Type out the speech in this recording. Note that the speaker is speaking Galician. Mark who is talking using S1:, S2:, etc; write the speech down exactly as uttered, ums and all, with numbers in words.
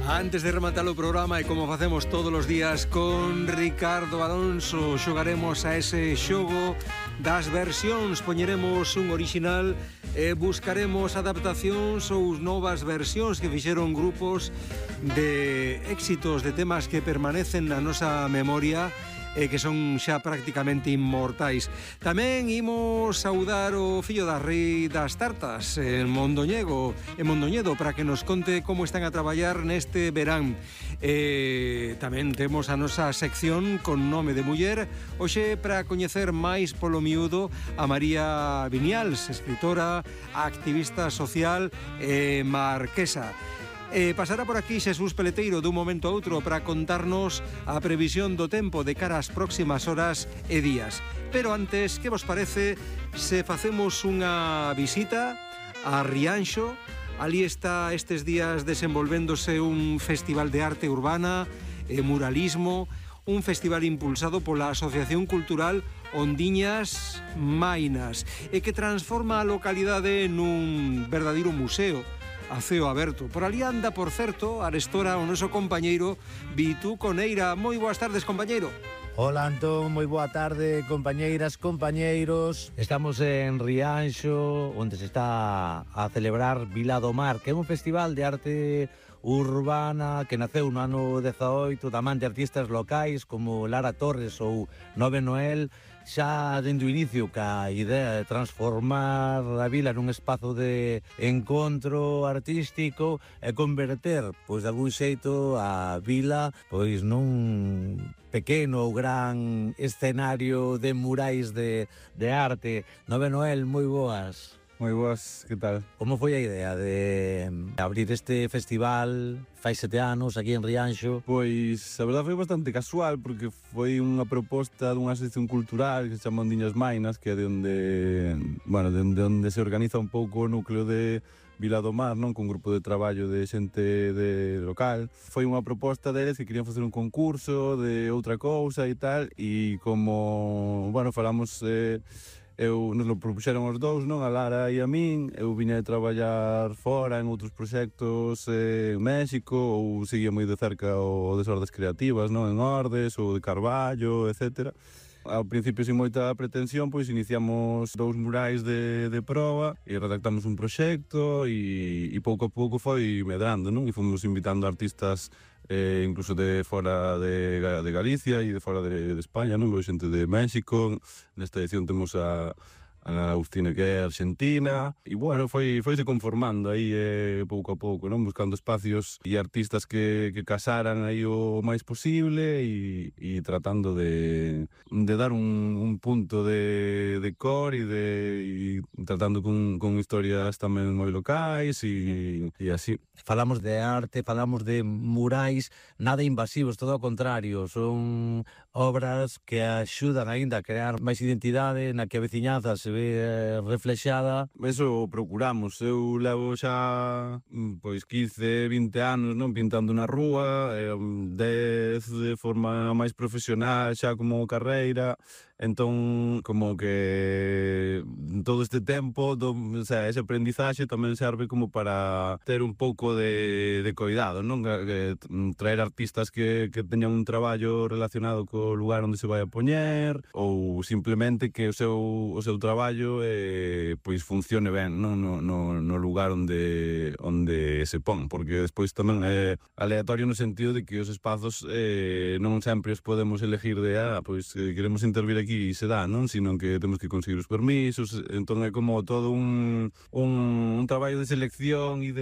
S1: Antes de rematar o programa, e como facemos todos os días con Ricardo Alonso, xogaremos a ese xogo das versións. Poñeremos un original e buscaremos adaptacións ou novas versións que fixeron grupos de éxitos, de temas que permanecen na nosa memoria e que son xa prácticamente inmortais. Tamén imos saudar o fillo da rei das tartas, en Mondoñedo, en Mondoñedo, para que nos conte como están a traballar neste verán. E tamén temos a nosa sección con nome de muller, hoxe para coñecer máis polo miúdo a María Viñals, escritora, activista social e marquesa. E pasará por aquí Xesús Peleteiro dun momento a outro para contarnos a previsión do tempo de cara ás próximas horas e días. Pero antes, que vos parece se facemos unha visita a Rianxo? Ali está estes días desenvolvéndose un festival de arte urbana e muralismo, un festival impulsado pola Asociación Cultural Ondiñas Mainas e que transforma a localidade nun verdadeiro museo a ceo aberto. Por ali anda, por certo, arestora o noso compañeiro Vitu Coneira. Moi boas tardes, compañeiro.
S2: Hola, Antón, moi boa tarde, compañeiras, compañeiros. Estamos en Rianxo, onde se está a celebrar Vila do Mar, que é un festival de arte urbana que naceu no ano dezaoito da man de artistas locais como Lara Torres ou Nove Noel, xa dende o inicio ca idea de transformar a vila nun espazo de encontro artístico e converter, pois de algún xeito, a vila pois nun pequeno ou gran escenario de murais de, de arte. Nove Noel, moi boas.
S3: Moi boas, que tal?
S2: Como foi a idea de abrir este festival fai sete anos aquí en Rianxo?
S3: Pois, a verdade foi bastante casual, porque foi unha proposta dunha asociación cultural que se chama Ondiñas Mainas, que é de onde, bueno, de onde, onde se organiza un pouco o núcleo de Vila do Mar, non? Con un grupo de traballo de xente de local. Foi unha proposta deles que querían facer un concurso de outra cousa e tal, e como, bueno, falamos... Eh, Eu, nos lo propuxeron os dous, non? A Lara e a min. Eu viña de traballar fora en outros proxectos eh, en México, ou seguía moi de cerca o Desordes Creativas, non? En Ordes, ou de Carballo, etcétera. Ao principio, sin moita pretensión, pois iniciamos dous murais de, de proba e redactamos un proxecto e, e pouco a pouco foi medrando, non? E fomos invitando artistas eh, incluso de fora de, de Galicia e de fora de, de España, non? Xente de México. Nesta edición temos a a Agustina, que é argentina, e bueno, foi foise conformando aí eh, pouco a pouco, non? Buscando espacios e artistas que, que casaran aí o máis posible e, e tratando de, de dar un, un punto de, de cor e, de, e tratando con, con historias tamén moi locais e, e así.
S2: Falamos de arte, falamos de murais nada invasivos, todo ao contrario, son obras que axudan aínda a crear máis identidade na que a veciñanza se ve reflexada.
S3: Eso procuramos. Eu levo xa pois quince, vinte anos, non, pintando na rúa, dez de forma máis profesional xa como carreira. Entón, como que todo este tempo, do, o sea, ese aprendizaxe tamén serve como para ter un pouco de, de cuidado, non? Que, traer artistas que, que teñan un traballo relacionado co lugar onde se vai a poñer, ou simplemente que o seu, o seu traballo eh, pois funcione ben, non? No, no, no lugar onde, onde se pon, porque despois tamén é aleatorio no sentido de que os espazos eh, non sempre os podemos elegir de, ah, pois eh, queremos intervir aquí e se dá, non? Sino que temos que conseguir os permisos, entón é como todo un, un, un traballo de selección e de